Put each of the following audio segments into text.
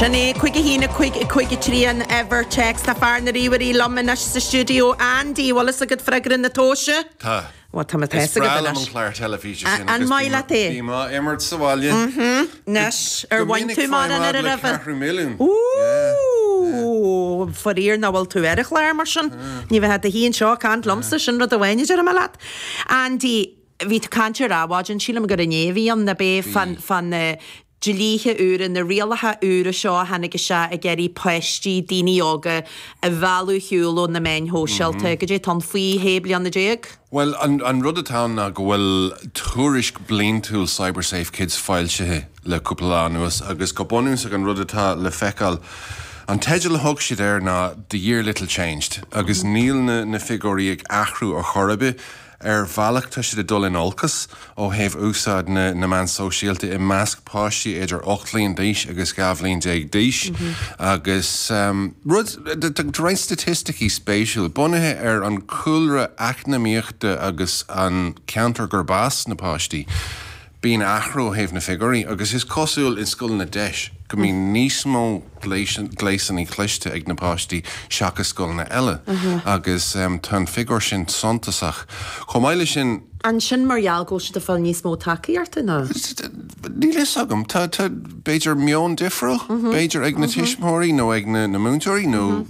Sin é, 5 1 5 5 3 an uimhir téacs. Tá fear na ríomhairí liom anois sa stiúideo. Andy, bhfuil fhios agat freagra na tomhaise? Tá. Bhuel, tá mé Is tá fhios breá agat liom an anois. clár teilifíse sin An agus maith leat é? bím á imirt sa bhaile. Anois, ar Go bhain minic tú faighim mórán fhad ar an le uimhir? ceathrú milliún. Ooh! Faraor nach bhfuil tú ar an chlár mar sin. Ní bheifeá i do shuí anseo ag caint liomsa, sin rud amháin a déarfaidh mé leat. Andy, bhí tú ag caint ar Adhmhaidin, sílim gur inné a bhí ann, ab é, fá na dlíthe úra, na rialacha úra seo a tháinig isteach ag iarraidh páistí, daoine óga a mhealladh ar shiúl ó na meáin shóisialta. Goidé atá ann faoi shé bliana déag? Bhuel, an rud atá ann ná go bhfuil tuairisc bliantúil CyberSafe Kids foilsithe le cúpla lá anuas agus go bunúsach an rud atá le feiceáil, an teideal a thug siad air ná The Year Little Changed agus níl na figiúirí ag athrú ar chor ar bith. Ar bhealach tá siad ag dul in olcas ó thaobh úsáid na meán sóisialta i measc páistí idir 8 bhliain d'aois agus 12 bhliain d'aois agus rud, tá roinnt staitisticí spéisiúil bunaithe ar an chúlra eacnamaíochta agus an ceantar gurb as na páistí. Bíonn athrú ó thaobh na figiúirí agus is cosúil i scoileanna deis go mbíonn níos mó gléasanna cliste ag na páistí seachas scoileanna eile agus tá an figiúr sin suntasach. Chomh maith leis sin. An sin mar gheall go bhfuil siad ag fáil níos mó tacaíochta nó? Níl fhios agam. Tá, tá, b'fhéidir meon difriúil, b'fhéidir ag na tuismitheoirí nó ag na múinteoirí nó.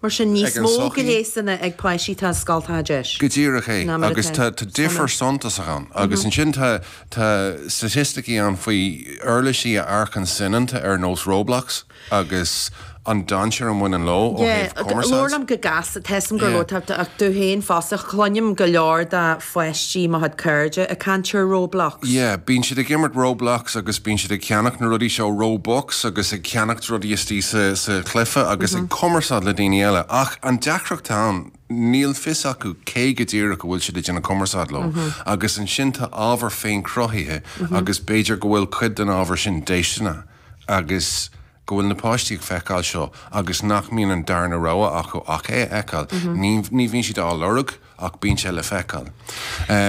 Mar sin, níos mó gléasanna ag páistí atá i scoltacha deis. Go díreach é. Agus tá difear suntasach ann. Agus ansin tá tá staitisticí ann faoi uirlisí a amharcann soineanta ar nós Roblox agus an dainséar a mbaineann leo ó thaobh cumarsáid. Labhair liom go gasta, tá 'fhios a'm gur labhair tú ach tú féin fosta, cluinim go leor de pháistí mo chuid cairde ag caint ar Roblox. Yeah, bíonn siad ag imirt Roblox agus bíonn siad ag ceannacht na rudaí seo, Robux, agus ag ceannacht rudaí istigh sa, sa chluiche agus ag cumarsáid le daoine eile. Ach an deacracht atá ann, níl fios acu cé go díreach a bhfuil siad ag déanamh cumarsáid leo. Agus ansin tá ábhar féinchruthaithe agus b'fhéidir go bhfuil cuid den ábhar sin déisteanach agus go bhfuil na páistí ag feiceáil seo agus nach mbíonn an darna rogha acu ach é a fheiceáil. Ní, ní bhíonn siad á lorg ach bíonn sé le feiceáil.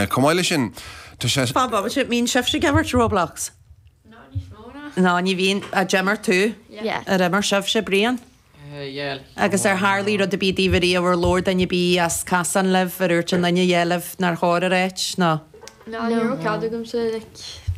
Chomh maith leis sin, tá sé. Fan bomaite, mbíonn sibhse ag imirt Roblox? No, níos mó ná. No, ní bhíonn. Ar imir tú? Yeah. Ar imir sibhse, Brian? Yeah. Agus ar tharlaigh rud ar bith daoibh ariamh, ar labhair duine ar bith as casán libh, ar dhúirt aon duine yeah libh nár chóir a ráit, nó? No, ní raibh cead agamsa like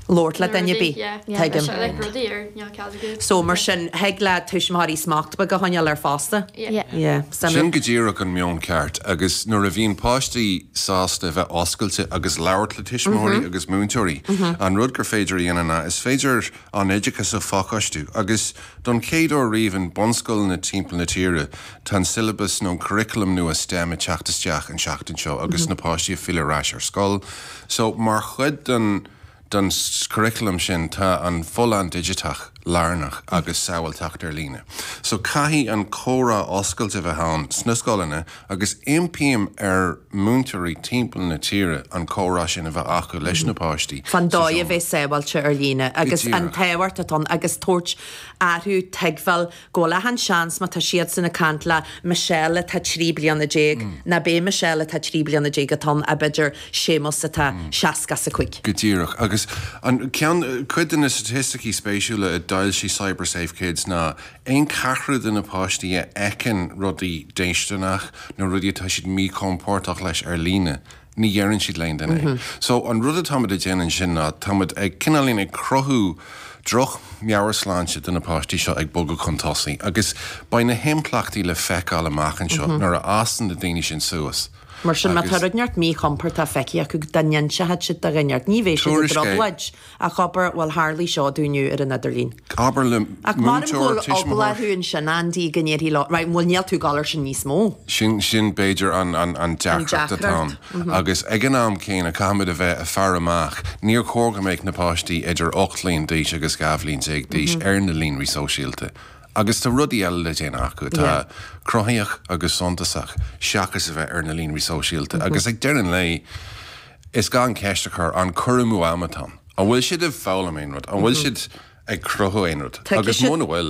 Labhairt le duine ar bith. Yeah. Tuigim. Like rudaí ar níl cead agat. So mar sin, thig le tuismitheoirí smacht beag a choinneáil air fosta. Yeah. Yeah. Sin go díreach an meon ceart agus nuair a bhíonn páistí sásta a bheith oscailte agus labhairt le tuismitheoirí agus múinteoirí, an rud gur féidir a dhéanamh ná is féidir an oideachas a phacáistiú agus don chéad uair riamh in bunscoileanna timpeall na tíre tá an siollabas nó an curriculum nua STEM ag teacht isteach an seachtain seo agus na páistí ag filleadh ar ais ar scoil. So mar chuid den den curriculum sin tá an folláin digiteach lárnach agus sábháilteacht ar líne. So caithfidh an comhrá oscailte a bheith ann sna scoileanna agus impím ar múinteoirí timpeall na tíre an comhrá sin a bheith acu leis na páistí Fán sa dóigh a seomra. bheith sábháilte ar líne agus an díreach. tábhacht atá ann agus tabhairt orthu tuigbheáil go bhfuil achan seans má tá siadsan ag caint le Michelle atá 13 bliana ná b'é Michelle atá 13 bliana atá ann ach b'fhéidir Séamus atá 65. Go díreach. Agus an ceann, cuid de na staitisticí spéisiúla a d'fhoilsigh CyberSafe Kids ná aon cheathrú de na páistí a fheiceann rudaí déisteanach nó rudaí atá siad míchompordach leis ar líne, ní dheireann siad le aon duine é. So, an rud atáimid ag déanamh ansin ná táimid ag cineáilín ag cruthú droch meabhairshláinte do na páistí seo ag bogadh chun tosaigh agus beidh na himpleachtaí le feiceáil amach anseo nuair a fhásann na daoine sin suas. Mar sin, má tá Agus. rud inteacht míchompordach feicthe acu, dá n-inseochadh siad do dhuine inteacht, ní bheidh siad i Tuairisc é. dtrioblóid ach abair, bhuel, tharlaigh seo domh inniu ar an idirlíon. Abair le Ach maram go múinteoir, bhfuil eagla tuismitheoir. orthu ansin, Andy, go ndéarfaí leo, right, bhuel, níl tú ag dul air sin níos mó. Sin, sin b'fhéidir an, an, an An deacracht atá ann. deacracht. Agus ag an am céanna, caithfimid a bheith ag faire amach. Níor chóir go mbeadh na páistí idir 8 bhliain d'aois agus 12 bhliain d'aois ar na líonraí sóisialta. Agus tá rudaí eile le déanamh acu atá cruthaitheach agus suntasach seachas a bheith ar na líonraí sóisialta. Agus ag deireadh an lae, is gá an cheist a chur, an cur amú ama atá ann? An bhfuil siad ag foghlaim aon rud? An bhfuil siad ag cruthú aon rud? Agus muna bhfuil.